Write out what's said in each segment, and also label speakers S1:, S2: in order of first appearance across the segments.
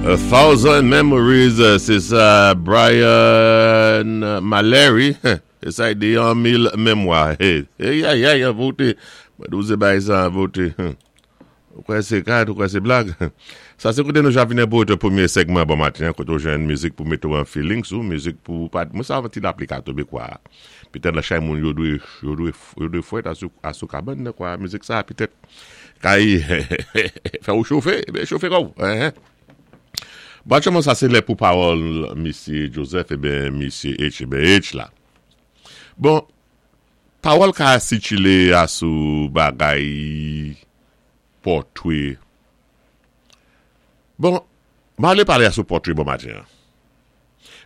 S1: A Thousand Memories, sé sa Brian Mallory, sé sa di yon mil memwa. Hey, hey, hey, an voté. Mwen di ou sé bagay sa an voté. Ou kwè sé kad, ou kwè sé blag. Sa sé koté nou javinen pou ote pwémyé sègman bon maten an, koté ou jwenn mizik pou mété ou an feelings ou, mizik pou pa, mwen sa ti lapli ka tonbé kwa. Petèt lan chay moun yo dwé, yo dwé, yo dwé fwèt asou, asou kabann nan kwa. Mizik sa petèt kay fè ou chofe, ebyen chofe kò ou. Bon aktyèlman sa sé lè pou pawòl misye Joseph ebyen misye H ebyen H la. Bon. Pawòl ka sitile a sou bagay pòtwe. Bon, m ale pale a sou pòtwe bon maten an.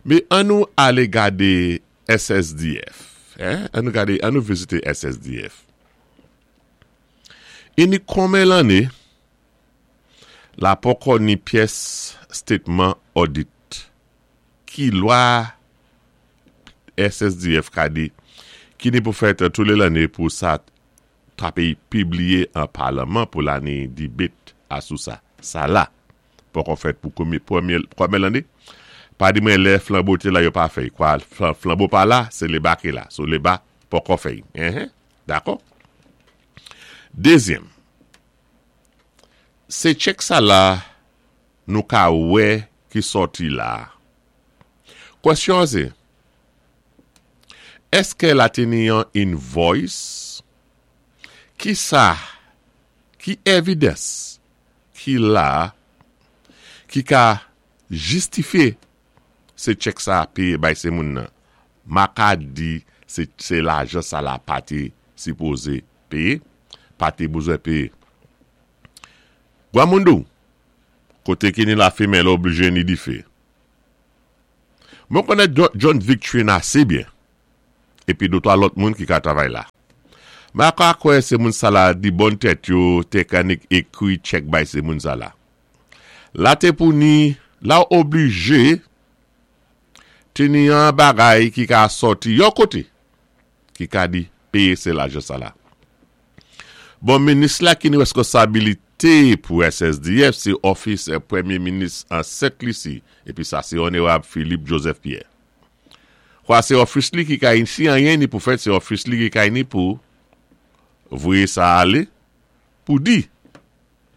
S1: Men an nou ale gade SSDF. An nou gade, an nou vizite SSDF. Ini konmen lanne, la poko ni pyès stetman odit. Ki lwa SSDF ka di ki ni pou fèt tou le lanne pou sa ta peyi pibliye an parleman pou lane debate a sou sa. Sa la poko fèt pou konbyen premye konbyen lanne? Pa di mwen lè flanbo te la yo pa fèy kwa flanbo pa la se leba ki la so leba poko fèy enhen dakò. Dezyèm se tchèk sa la nou ka wè ki sòti la. Kwèsyon an se, Èske la te ni yon invoice? Ki sa, ki evidence ki la ki ka jistifye se chèk sa peye bay se moun nan? Ma ka di se se lajan sa la pa te sipoze peye, pa te bezwen peye. Gwamoundou, kote ki ni lafimen l oblije ni dife. Mwen konnen John Victrine ase byen, epi dotwa lòt moun ki ka travay la. Ma ka kwè se moun sa la di bon tèt yo te ka nik ekri chèk bay se moun sa la. La te pou ni, la oblije te ni yon bagay ki ka sòti yon kote ki ka di peye se lajan sa la. Bon minis la ki ni reskonsabilite pou SSDF se òfis premye minis an Sent Lisi epi sa se Onerab Philippe Joseph Pierre. Kwa se òfis li ki ka si anyen ni pou fèt se òfis li ki ka ni pou voye sa ale pou di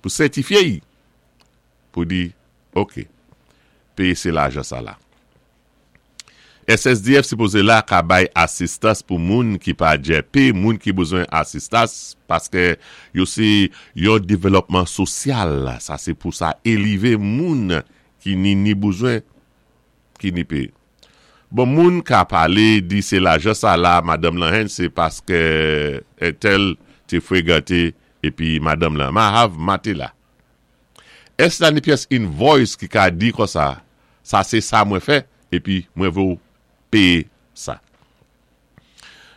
S1: pou sètifye y pou di ok peye se lajan sa la. SSDF sipoze la ka bay asistans pou moun ki pa djèpe, moun ki bezwen asistas, paske yo se yon develòpman sosyal, sa se pou sa elive moun ki ni ni bezwen, ki ni pe. Bon moun ka pale di se lajan sa la madanm lan hen se paske entèl te fregante epi madanm lan ma have matela. Èske la ni pyès invoice ki ka di konsa, sa se sa mwen fè, epi mwen vle w peye sa?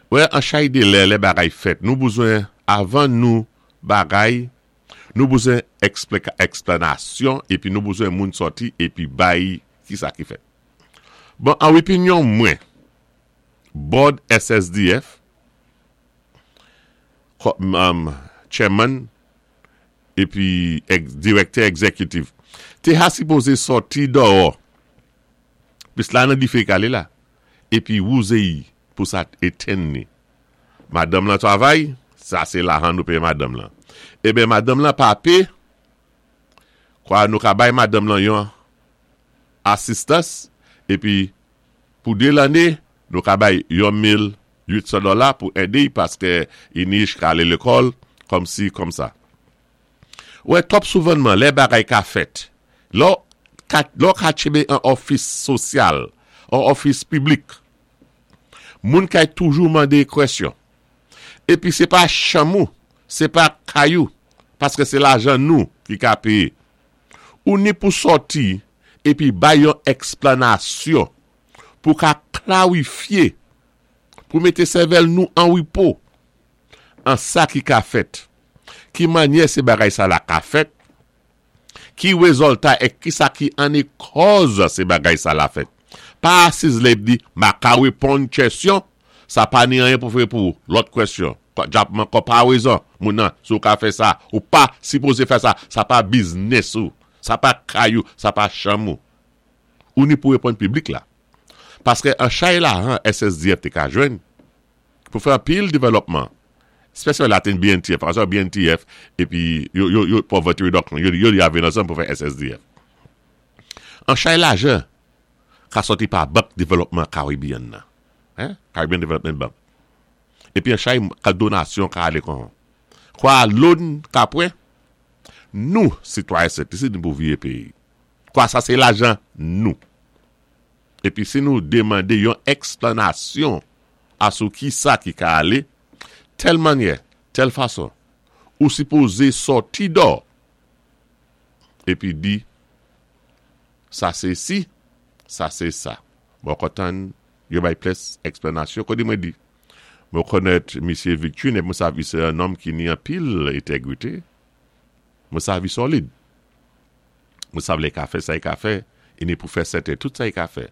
S1: Wè, an chay de lè, lè bagay fèt, nou bezwen, avan nou bagay, nou bezwen eksplanasyon, epi nou bezwen moun sòti epi bay ki sa ki fèt. Bon, an opinyon mwen, Board SSDF, Chairman, epi direktè egzekitif te ha sipoze sòti dòò plis la nan dife kale la epi wouze y pou sa t etenn ni madanm lan travay sa se lahan nou peye madanm lan eben madanm lan pa pe kwa nou ka bay madanm lan yon asistans epi pou 2 lane nou ka bay yon 1800 dola pou ede y paske Inich ka ale lekòl kòm si kòm sa. Ou wè twòp souvanman lè bagay ka fèt, lè w ka lè w ka tchebe an òfis sosyal, an òfis piblik, moun kay toujou mande kwèsyon. Epi se pa chanm ou, se pa kay ou, paske se lajan nou ki ka peye. Ou ni pou sòti epi bay yon eksplanasyon pou ka klarifye, pou mete sèvèl nou an repo, an sa ki ka fèt, ki manyè se bagay sa la ka fèt, ki rezòlta e ki sa ki anne kòz se bagay sa la fèt. Pa asiz la ep di, ma ka reponn kèsyon, sa pa ni anyen pou fè pou lòt kwèsyon. Djapman kò pa rezon, moun nan, si ou ka fè sa, ou pa sipoze fè sa, sa pa biznis ou. Sa pa kay ou, sa pa chanm ou. Ou ni pou réponn piblik la. Paské an chay lajan SSDF té ka jwenn pou fè anpil dévèlòpman, spésyalman Latin BNTF, paské BNTF épi yo yo yo poverty reduction yo yo ya vin ansanm pou fè SSDF. An chay lajan ka sòti pa Bank Dévèlòpman Caribbean nan, hein, Caribbean Development Bank. Épi an chay ka donasyon ka alé kon kwa loan ka pran, nou sitwayen Sent Lisi nou pou viye péyi. Kwa sa sé lajan nou. Épi si nou démandé yon èksplanasyon asou kisa ki ka alé, tèl mannyè, tèl fason, ou sipozé sòti dò épi di sa sé si, sa sé sa. Mwen kontan yo bay plis èksplanasyon koté mwen di mwen konnèt misyé Victuin épi mwen sav i sé yon nonm ki ni anpil entègrité, mwen sav i sòlid. Mwen sav lè i ka fè sa i ka fè, i ni pou fè sèten tout sa i ka fè,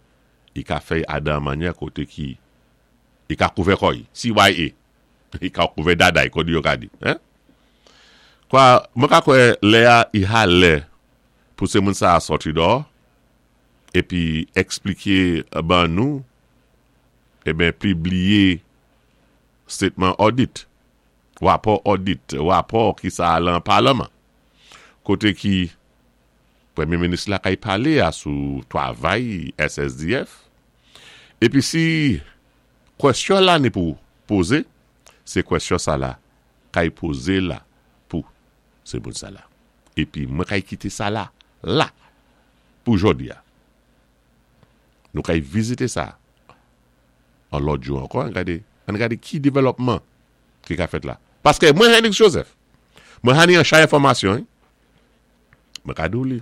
S1: i ka fè y adan mannyè koté ki i ka kouvè kò i, CYA, i ka kouvè dada i, kòdi yo ka di, hein. Kwa, mwen ka kwè lè a i ha lè pou sé moun sa a sòti dò épi èkspliké ban nou, eben pibliye statement audit, rapò audit, rapò ki sa a lan palman, koté ki Premye minis la kay palé a sou twavay SSDF, épi si kwèsyon la ni pou pozé, sé kwèsyon sa la kay pozé la pou sé moun sa la. Épi mwen kay kité sa la la pou jòdi a. Nou kay vizité sa an lòt jou ankò an gade an gade ki devèlòpman ki ka fèt la. Paské mwen Henrix Joseph, mwen hani an chay enfòmasyon wi. Mwen ka di w li.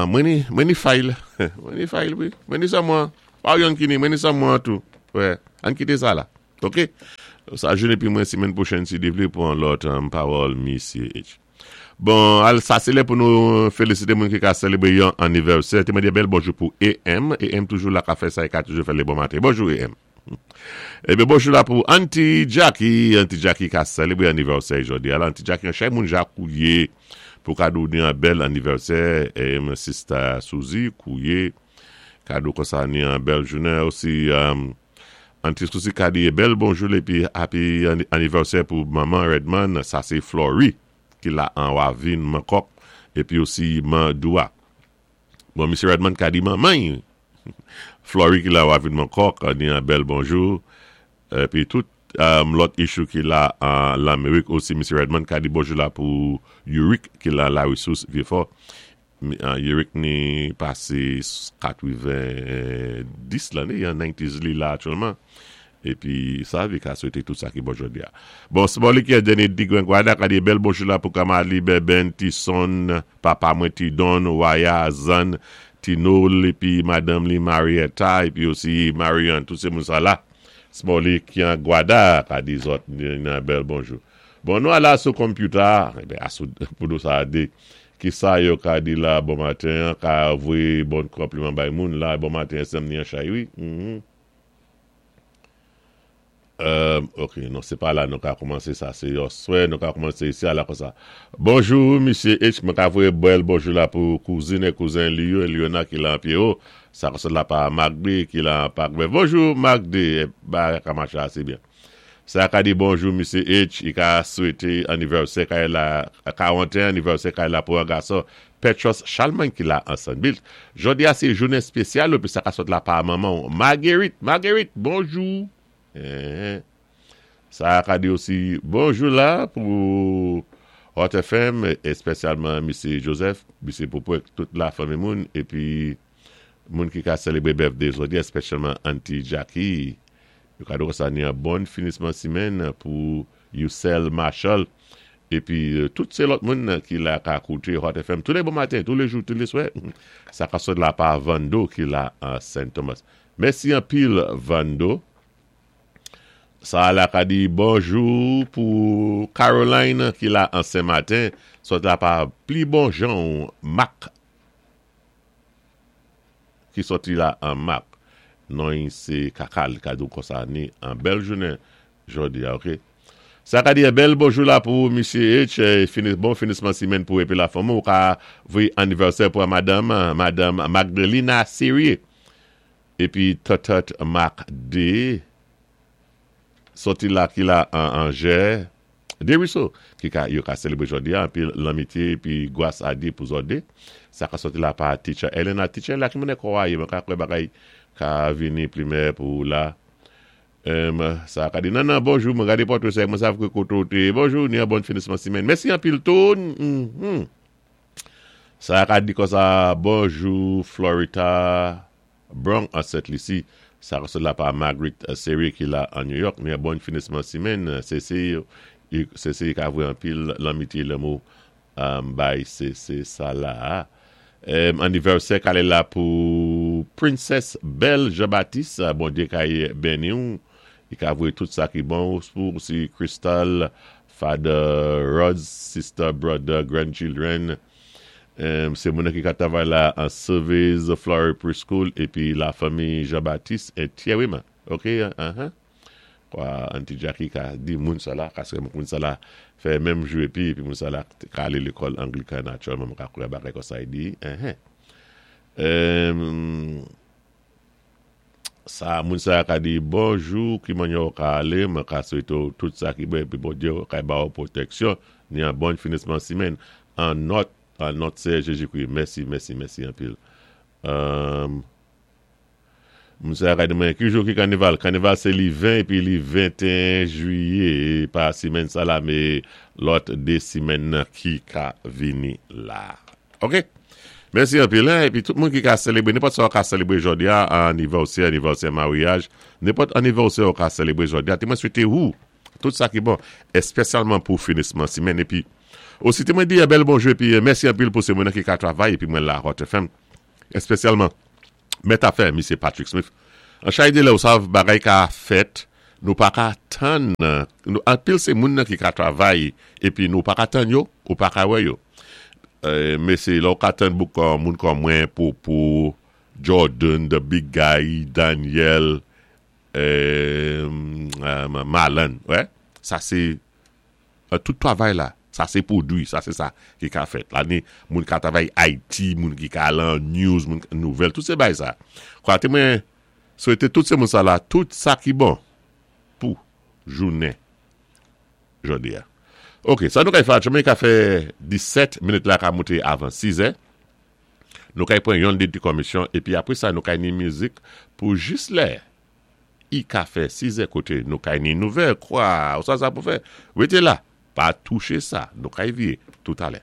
S1: Mwen ni, mwen ni fayl. Mwen ni fayl wi. Mwen ni sa mwen. Pa w yon ki ni, mwen ni sa mwen tou. Wè, ann kite sa la. Ok? Sa jounen pi mwen simenn pwochèn si Dye vle pou an lòt pawòl Misye H. Bon, al sa se lè pou nou felisite moun ki ka selebre yon anivèsè. Te mande bèl bonjou pou EM. EM toujou la ka fè sa e ka toujou fè le bon maten. Bonjou EM. Ebyen bonjou la pou Aunty Jacky, Aunty Jacky ka selebre anivèsè jodi a la, Aunty Jacky an chay moun ja kouye pou kado ni an bèl anivèsè em sista Suzy kouye kado konsa ni an bèl jounen osi Aunty Suzy ka di bèl bonjou epi happy anivèsè pou manman Redman sa se Flory ki la an Wavin Mankòk epi osi man Doua. Bon misye Redman ka di manman y Flory ki la wavin mankòk ni an bèl bonjou epi tout lòt issue ki la an lanmerik osi misye Redman ka di bonjou la pou Yurick ki la la resous vyefò Yurick ni pase 90 lane an 90s li la aktyèlman epi sa vi ka swete tout sa ki bon jodi a bon Smolly ki dènye di Grenguada ka di bèl bonjou la pou kamarad li Bèbèn Tison Papa mwen ti Don, Waya, Zann, Ti Nol epi madanm li Marietta epi osi Marianne tout se moun sa la Smolly ki an Gwada ka di zòt nan bèl bonjou. Bon nou ala sou computer a eben asou pou nou sa de kisa yo ka di la bon maten an ka voye bon konpliman bay moun la bon maten sèm ni an chay wi humm. Ehm ok non se pa la nou ka koumanse sa se yon swè nou ka koumanse isi a la konsa Bonjou misye H mwen ka voye bèl bonjou la pou kouzin e kouzen li yo Eliona ki la an Pierrot sa konsèt la pa Marc D ki la an Parc Vert Bonjou Marc D bagay ka mache ase byen Sa ka di bonjou misye H i ka swete anivèsè kay la 41 anivèsè kay la pou an gason Petros Chalmany ki la an Sanbilt Jodi a se jounen espesyal ou epi sa ka sot la pa manman w Marguerite Marguerite bonjou Eeh Sa a ka di osi bonjou la pou Hot FM espesyalman misye Joseph, misye Popo ak tout la fanmi moun epi moun ki ka selebre birthday jodi a espesyalman Aunty Jackie. Yo ka di konsa ni an bon finisman simenn pou Youcel Marshall epi tout se lòt moun ki la ka koute Hot FM tou le bon maten, tou le jou, tou le swè. Sa ka sot la pa Vando ki la an Saint Thomas. Mèsi anpil Vando. Sa la ka di bonjou pou Caroline ki la an Sen Maten, sot la pa pli bon jan w Mak ki soti la an Mak. Non y se Kaka li ka di w konsa ni an bèl jounen jodi a ok. Sa ka di bèl bonjou la pou Misye H, fini, bon finisman simenn pou épi lafanmi ou ka voyé anivèsè pou madanm, Madanm Magdalena Serie. Épi Tòtòt Marc D. Sòti la ki la an Angè, Desruisseaux, ki ka yo ka selebré jòdi a anpil lanmitye épi gwas a Dye pou zòt 2. Sa ka sòti la pa Teacher Elena. Teacher Elena ki mounè kò a ye mwen ka kwè bagay ka vini plimè pou ou la. Humm sa ka di Nannan bonjou mwen gade pòtre sa e mwen sav ke kote ou te ye bonjou ni an bòn finisman simèn mèsi anpil tou humm sa ka di konsa bonjou Florita Bronx an Sent Lisi sa ka sot la pa Marguerite Serie ki la an New York ni an bòn finisman simèn se se se se ka vwe anpil lanmitye lanmou bay se se sa la a anivèsè kale la pou Princess Belle Jean Baptiste Bondye kay beniw li ka voye tout sa ki bon pou ou si Crystal Father Rods sister brother grandchildren se moun ki ka travay la an Surveys Flower Preschool epi la fanmi Jean Baptiste entyè wi man ok uh-huh. Kwa Auntie Jackie ka di moun sa la, kaske moun sa la fè menm jou epi, epi moun sa la ka ale lekòl Anglikan natirèlman mwen ka kwè bagay konsa li di, enhen. Sa moun sa ka di bonjou ki manyè ou ka ale, mwen ka swete ou tout sa ki bon epi Bondye ka ba ou pwoteksyon ni an bon finisman simenn an nòt an nòt Seyè Jezikri. Mèsi mèsi mèsi anpil. Moun sa ka di mwen ki jou ki kanival? Kanival se li 20 epi li 21 jwiye pa simenn sa la me lòt 2 simenn nan ki ka vini la. Ok. Mèsi anpil hein epi tout moun ki ka selebre nenpòt sa ou ka selebre jodi a anivèsè, anivèsè maryaj, nenpòt anivèsè ou ka selebre jodi a te mwen swete ou tout sa ki bon espesyalman pou finisman simenn epi osi te mwen di bèl bonjou epi mèsi anpil pou se moun nan ki ka travay epi mwen la Hot FM espesyalman Mèt afè misye Patrick Smith an chay de lè ou sav bagay ka fèt nou pa ka tann nou anpil se moun nan ki ka travay epi nou pa ka tann yo ou pa ka wè yo mesye lè ou ka tann bouk moun kòm mwen poupou Jordan the big guy Daniel Malan wè sa se Tout travay la, sa se pwodwi, sa se sa ki ka fèt. La ni moun ka travay IT, moun ki ka lan news, moun nouvèl, tout se bay sa. Kwa te mwen swete tout se moun sa la, tout sa ki bon pou jounen jodi a. Ok, sa nou kay fè aktyèlman, ka fè 17 minit la ka moute avan 6 è. Nou kay pran yon de ti kòmisyon, epi apre sa nou kay ni mizik pou jis lè. I ka fè sizè kote nou kay ni nouvèl kwa ou sa sa pou fè rete la pa touche sa nou kay vye toutalè.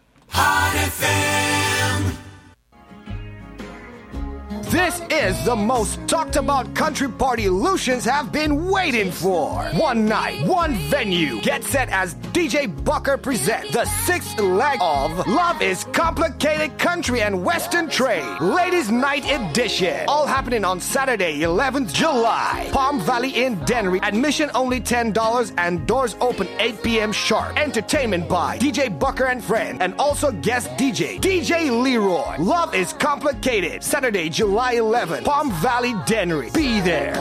S2: This is the most talked about country party Lucians have been waiting for. One night, one venue. Get set as DJ Bucker presents the sixth leg of Love is Complicated Country and Western Trade, Ladies Night Edition. All happening on Saturday, 11th July. Palm Valley in Dennery. Admission only $10 and doors open 8 p.m. sharp. Entertainment by DJ Bucker and Friend and also guest DJ, DJ Leroy. Love is Complicated. Saturday, July 11, Palm Valley, Dennery. Be there.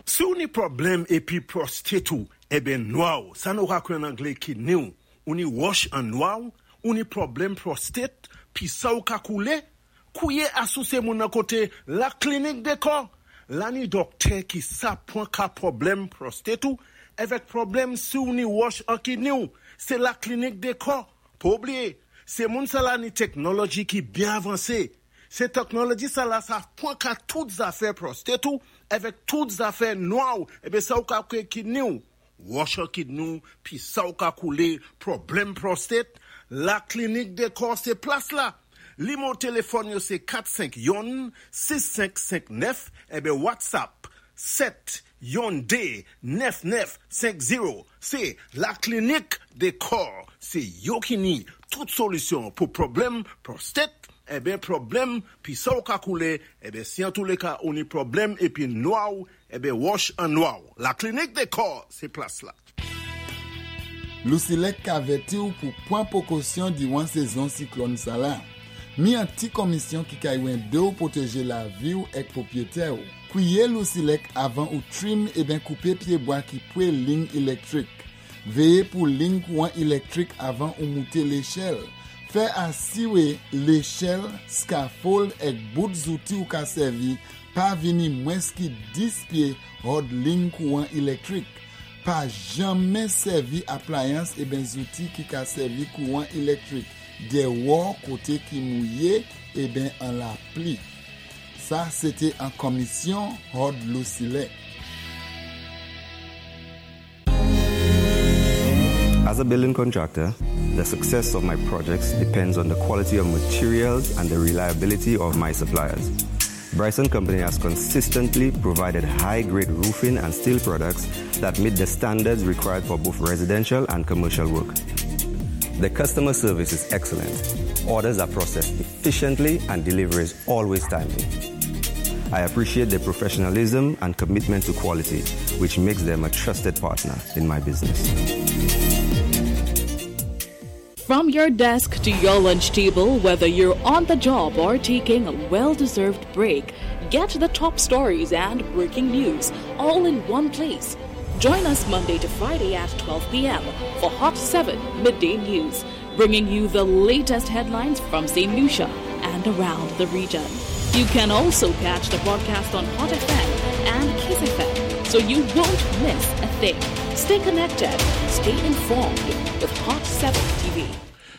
S3: Si ou ni pwoblèm épi prostate ou eben nwa ou, sa nou ka kwè an anglé kidney ou, ou ni wòch an nwa ou, ou ni pwoblèm prostate, pisa ou ka koulé, kouye asouse moun nan koté la klinik dekò, la ni dòktè ki sa pwan ka pwoblèm prostate ou, èvèk pwoblèm si ou ni wòch an kidney ou, se la klinik dekò, pa oubliye, se moun sa la ni teknoloji ki byen avanse, Se teknoloji sa la sa pwan ka tout zafè prostate ou avèk tout zafè nwa ou ebyen sa ou ka kwe kidney ou wòch an kidney ou pi sa ou ka koule pwoblèm prostate la klinik dekò se plas la limo telefòn yo se 4 5 yonn 6 5 5 9 ebyen whatsapp 7 yonn 2 9 9 5 0 se la klinik dekò se yo ki ni tout solisyon pou pwoblèm prostate Enben pwoblèm pisa w ka koule enben si antouleka ou ni pwoblèm epi nwa w enben wòch an nwa w la clinique des corps se plas la.
S4: Lousilèk ka vèti w pou pwan pwokosyon diwan sezon siklòn sa la. Mi an ti kòmisyon ki kay wende w pwoteje lavi w èk pwopyetè w. Kwiye Lousilèk avan ou trim eben koupe pyebwa ki pwe lign ilèktrik. Véyé pou lign kouwan ilèktrik avan ou mouté léchèl. Fè asiwé léchèl, scaffold èk bout zouti ou ka sèvi pa vini mwens ki 10 pyé hòd lign kouwan ilèktrik. Pa janmen sèvi aplayans eben zouti ki ka sèvi kouwan ilèktrik dèwò koté ki mouyé eben an lapli. Sa sé té an konmisyon hòd LouSilèk.
S5: As a building contractor, the success of my projects depends on the quality of materials and the reliability of my suppliers. Bryson Company has consistently provided high-grade roofing and steel products that meet the standards required for both residential and commercial work. The customer service is excellent. Orders are processed efficiently and delivery is always timely. I appreciate their professionalism and commitment to quality, which makes them a trusted partner in my business.
S6: From your desk to your lunch table, whether you're on the job or taking a well deserved break, get the top stories and breaking news all in one place. Join us Monday to Friday at 12 p.m. for Hot 7 Midday News, bringing you the latest headlines from St. Lucia and around the region. You can also catch the broadcast on Hot FM and Kiss FM, so you won't miss a thing. Stay connected, stay informed with Hot 7 TV.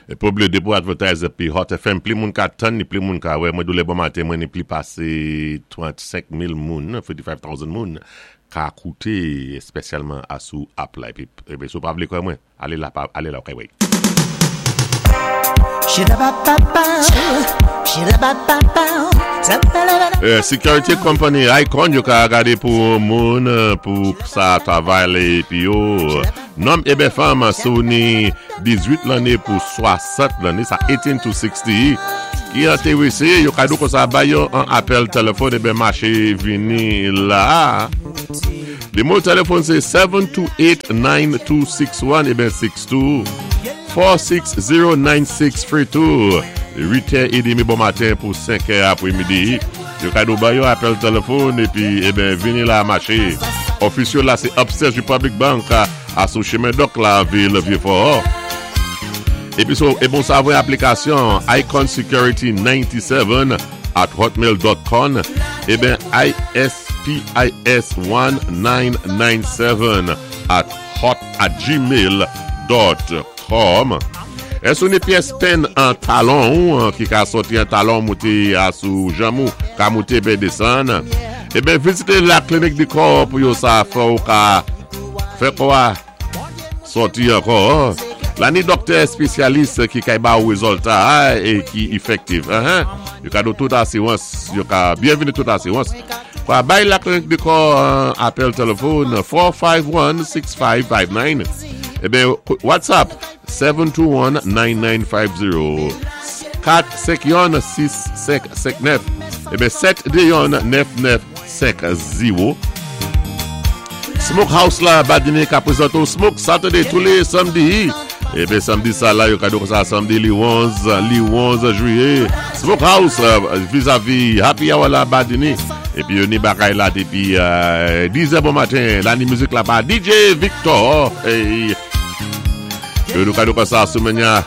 S1: E pwoblé dépi ou advertise épi Hot FM pli moun ka tann ni pli moun ka wè mwen dou lè bon maten mwen ni pli pasé 35 mil moun 35,000 moun ka kouté espesyalman asou app la épi épi si ou pa vlé kwè mwen Ale la pa ale la ok wey. Security company Icon yo ka gade pou moun pou sa travay le epi yo nonm eben fanm si w ni 18 lanne pou 60 lanne sa 18 to 60 ki enterese yo ka di w konsa bay yo an apèl telefòn eben mache vini la. Nimewo telefòn se 728 9261 eben 62 460 9632 8 è edemi bon maten pou 5 è apre midi. Yo ka do ba yo apèl telefòn epi eben vini la mache. Ofis yo la se upstairs Republic Bank a sou chemen dòk la vil Vieux Fort. Epi so e bon sa voye aplikasyon Icon Security 97 at hotmail dot con eben ISPIS 1997 at hot at gmail dot com Èske ou ni pyès penn an talon ou ki ka sòti an talon moute a sou janm ou ka moute eben desann eben vizite la clinique du corps pou yo sa fè ou ka fè kò a Sòti ankò La ni dòktè espesyalis ki kay ba ou rezòlta e ki efektif Yo ka do tout asirans Yo ka byenvini tout asirans Kwa bay la klinik de kò apèl telefòn 451 6559 Eben WhatsApp 721 9950 4 5 1 6 5 5 9 Eben 7 2 1 9 9 5 0 Smoke House la Badine ka prezante w Smoke Saturday tou le samdi. Eben samdi sa la yo ka di w konsa samdi li 11 li 11 jwiye Smoke House vizavi Happy Hour la Badine. Epi yo ni bagay la depi 10 è bon maten la ni mizik la pa DJ Victor. Hey. Yo nou ka di w konsa semèn ya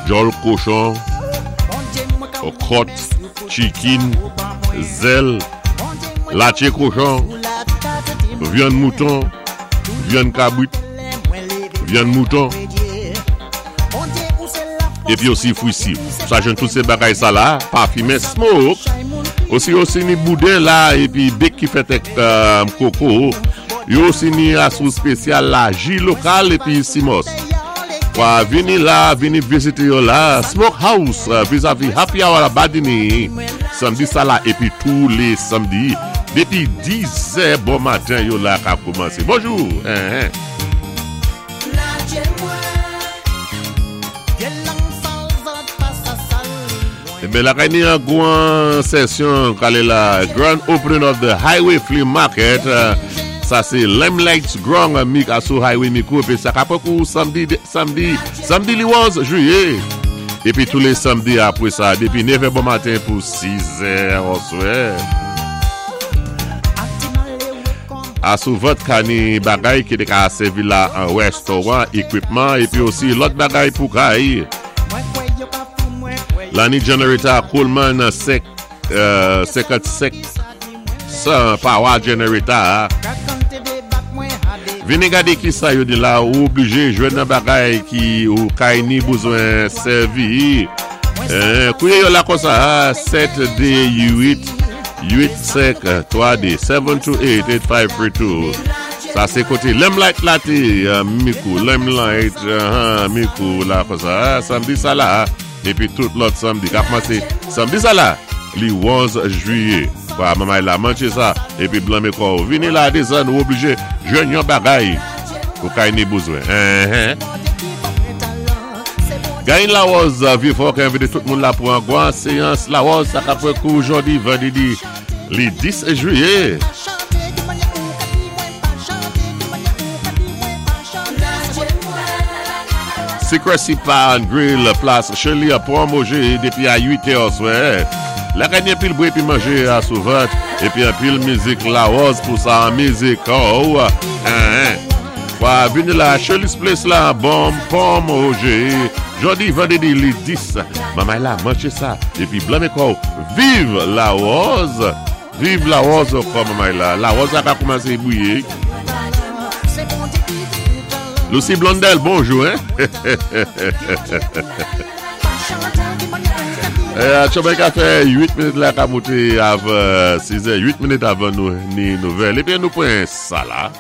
S1: djòl kochon, kòt, chikin, zèl. Latye kochon, vyann mouton, vyann kabrit, vyann mouton, epi osi fwi si. Sa jwenn tout se bagay sa la, pa fimen, smoke. Osi osi ni bouden la, epi bek ki fèt ak koko. Yo osi ni asou spesyal la, ji lokal epi simòs. Wa vini la, vini vizite yo la, Smoke House, vizavi Happy Hour la Badini. Samdi sa la epi tou le samdi depi 10 zè bon maten yo la ka koumanse. Bonjou! Eben lakay ni an gwan sesyon kale la Grand Opening of the Highway Flea Market sa se Limelight Grand mi ka sou Highway Mikou epi sa ka pran kou samdi samdi samdi li 11 jiyè. Epi tou le samdi apre sa depi 9 è bon maten pou 6 è oswè. Asouvant ka ni bagay ki té ka sèvi la an rèstoran, ekwipman épi osi lòt bagay pou kay. La ni generator Coleman 5 55 100 power generator. Vini gadé kisa yo di la ou oblije jwenn nan bagay ki ou kay ni bezwen sèvi. Kouye yo la konsa 7 2 8 8 5 3 2 7 2 8 8 5 3 2 Sa sé koté Limelight la té Mikou Limelight Mikou la konsa samdi sa la épi tout lòt samdi ka koumansé samdi sa la li 11 jwiyé kwa manmay la manje sa épi blanme kòw vini la desann ou oblije jwenn yon bagay ou kay ni bezwen. Gain Larose Vieux-Fort ki envite tout moun la pou an gwan seyans Larose sa kap pran kou jodi vandredi li 10 jiyè. Secrecy Bar and Grill plas Shirley a pran manje depi a 8 è oswè. La ganye pil bwè epi manje a sou vant epi anpil mizik Larose pou sa an mizik oh. Wa vini la Shirley's Place la bonm pom oje Jodi vandredi li 10 Mamay la manje sa epi blanme kòw Viv la rose Viv la rose ankò mamay la La rose la ka koumanse bouye Lucie Blondel bonjou hein Atchòmè ka fè 8 minit la ka moute avan 6 è 8 minit avan nou ni nouvèl Ebyen nou pran sa la.